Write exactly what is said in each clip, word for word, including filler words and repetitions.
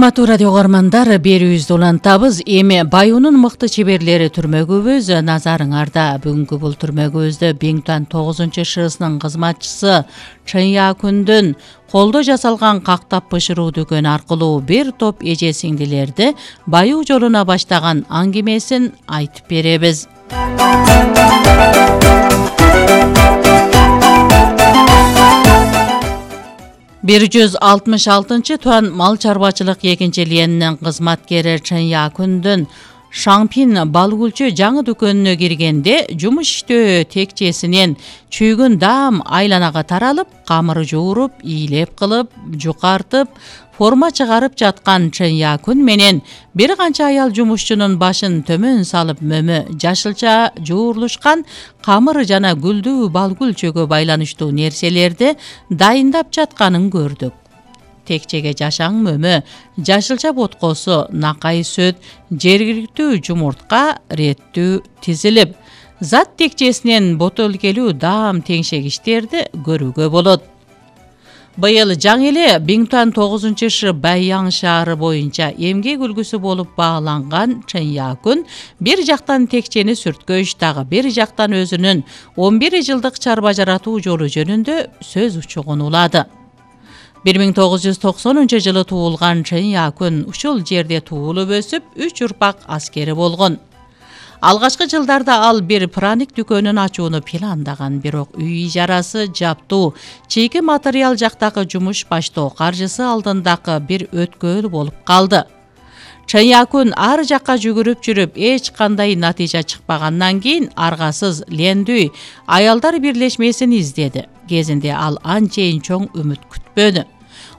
Урматтуу радио көрөрмандар, берүүбүздү улантабыз. Эми Баюунун мыкты чеберлери түрмөгүбүз назарыңарда. Бүгүнкү бул түрмөгүбүздө Бингтуан тогузунчу ШСынын кызматчысы Чын Якундун колдо жасалган кактап бышыруу дүкөнү аркылуу бир топ эже сиңдилерди баюу жолуна баштаган аңгемесин айтып беребиз. бир жүз алтымыш алтынчы туан мал чарбачылык экинчи лиенинин кызматкери Чын Якундун Шаңпин балгүлчү жаңы дүкөнүнө киргенде жумуш иштөө текчесинен чүйгүн даам айланага таралып, камыр жууруп, ийилеп кылып, жукартып, форма чыгарып жаткан Чын Якун менен бир канча аял жумушчунун башын төмөн салып мөмө жашылча жуурулушкан камыр жана гүлдүү балгүлчөгө байланыштуу нерселерди дайындап жатканын көрдүк. Текчеге жашаң мөмө, жашылча боткосу, накай сүт, жергиликтүү жумуртка реттүү тизилип, зат текчесинен ботөлкелүү даам теңшегичтерди көрүүгө болот. Быйыл жаңы эле Бингтуан тогузунчу Ш Баян шаары боюнча эмгек үлгүсү болуп бааланган Чын Якун бир жактан текчени сүрткөч, дагы бир жактан өзүнүн он бир жылдык чарба жаратуу жолу жөнүндө сөз учугун улады. бир миң тогуз жүз токсонунчу жылы туулган Чын Якун ушул жерде туулуп өсүп, үч урпак аскери болгон. Алгачкы жылдарда ал бир праник дүкөнүн ачууну пландаган, бирок үй ижарасы, жаптуу, чийки материал жактагы жумуш баштоо каржысы алдындагы бир өткөөл болуп калды. Чын Якун ар жакка жүгүрүп жүрүп, эч кандай натыйжа чыкпагандан кийин аргасыз лендүй аялдар бирлешмесин издеди. Кезинде ал анчейин чоң үмүт күтпөдү.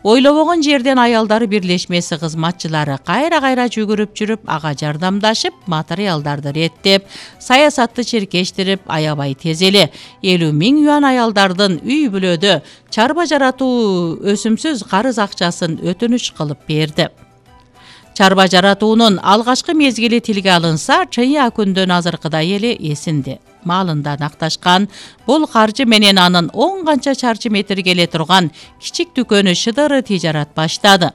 Ойлобогон жерден аялдар бирлешмеси кызматчылары кайра-кайра жүгүрүп жүрүп, ага жардамдашып, материалдарды реттеп, саясатты чиркештирип, аябай тез эле элүү миң юан аялдардын үй бүлөдө чарба жаратуу өсүмсүз карыз акчасын өтүнүч кылып берди. Чарба жаратуунун алгачкы мезгили тилге алынса, Чын Якундун азыркыдай эле эсинде. Малында накташкан бул каржы менен анын он канча чарчы метр келе турган кичик дүкөнү шыдыры тижарат баштады.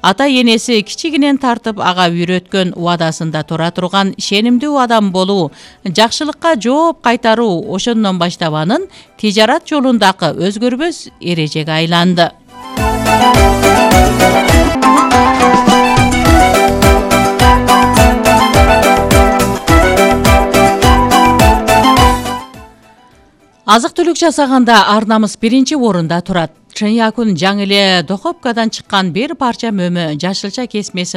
Ата энеси кичигинен тартып ага үйрөткөн убадасында тура турган ишенимдүү адам болуу, жакшылыкка жооп кайтаруу ошондон баштап анын тижарат жолундагы өзгөрбөс эрежеге айланды. Азык-түлүк жасаганда ар намыс биринчи орунда турат. Чын Якун жаңы эле Дохопкадан чыккан бир парча мөмө жашылча кесмесин